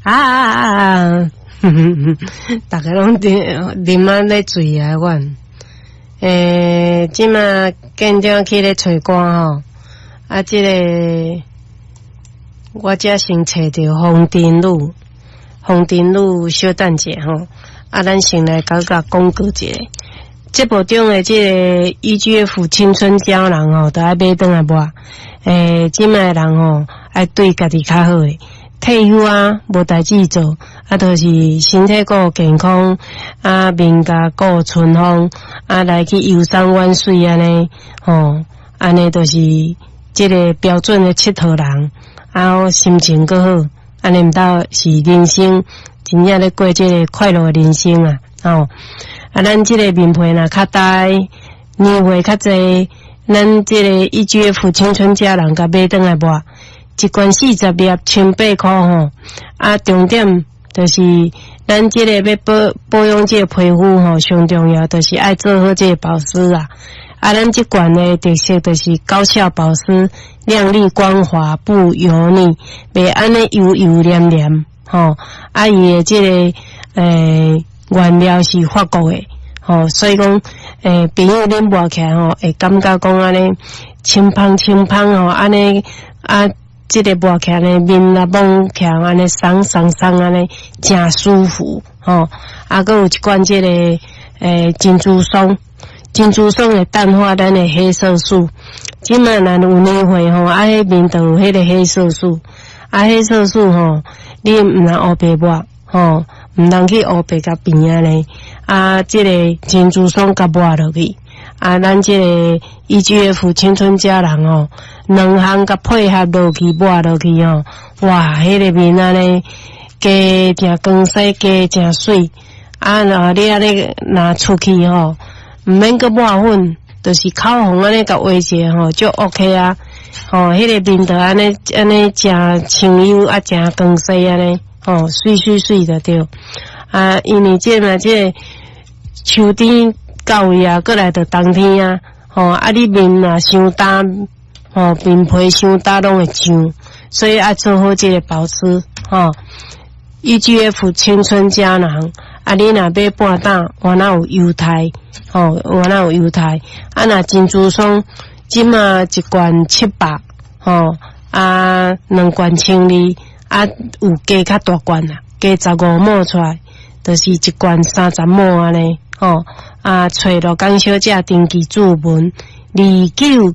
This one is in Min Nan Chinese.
啊啊啊啊！逐家攏啉啉啊咧醉啊款。這馬建長去咧揣歌吼，啊，這个我遮先揣著風塵女，風塵女小等者吼，啊，咱先來共佮廣告一下。節目中的這個 EGF 青春膠囊吼，都愛買轉來抹。這擺的人吼，愛對家己較好的。退休啊，無代誌做，啊，就是身體顧健康，啊，面頰顧春風，啊，來去遊山玩水按呢，吼，按呢就是這个標準的𨑨迌人，啊，心情閣好，按呢毋著是人生真正咧過這个快樂的人生啊，吼。啊，咱這个面皮若較焦，年歲較濟，咱這個 EGF 青春膠囊共買轉來抹，一罐40粒，千八箍吼。啊，重點就是咱這个欲保保養這个皮膚吼，上重要就是愛做好這个保濕啊。啊，咱這罐的特色就是高效保濕，亮麗光滑不油膩，袂按呢油油黏黏吼。啊，伊的這个原料是法國的，吼，所以講，朋友恁抹起來吼，會感覺講按呢清芳清芳吼，按呢啊，這个抹起來呢面啊摸起來按呢鬆鬆鬆按呢，誠舒服吼。啊，閣有一罐這个珍珠霜，珍珠霜會淡化咱的黑色素。這馬若有年歲吼，啊，彼面就有彼个黑色素，啊，黑色素吼，你毋通烏白抹吼。毋通去烏白共變按呢，啊，這个珍珠霜共抹落去，啊，咱這个 EGF 青春膠囊吼，兩項共配合落去抹落去吼，哇，彼个面按呢，加誠光鮮，加誠媠，啊，若你按呢若出去吼，毋免閣抹粉，就是口紅按呢共畫一下吼，就 OK 啊，吼，彼个面就按呢按呢誠清幽啊，誠光鮮按呢。吼，媠媠媠就對。啊，因為這嘛這個秋天到位啊，閣來就冬天啊，吼，啊，你面若傷焦，吼，面皮傷焦攏會脹，所以愛做好這个保濕，吼。EGF 青春膠囊，啊，你若買半打，原來有優待，吼，原來有優待。啊，若珍珠霜，這馬一罐700，吼，啊，兩罐1200。啊，有加較大罐啦，加15毫出來，就是一罐30毫按呢，吼。啊，揣羅江小姐登記注文29。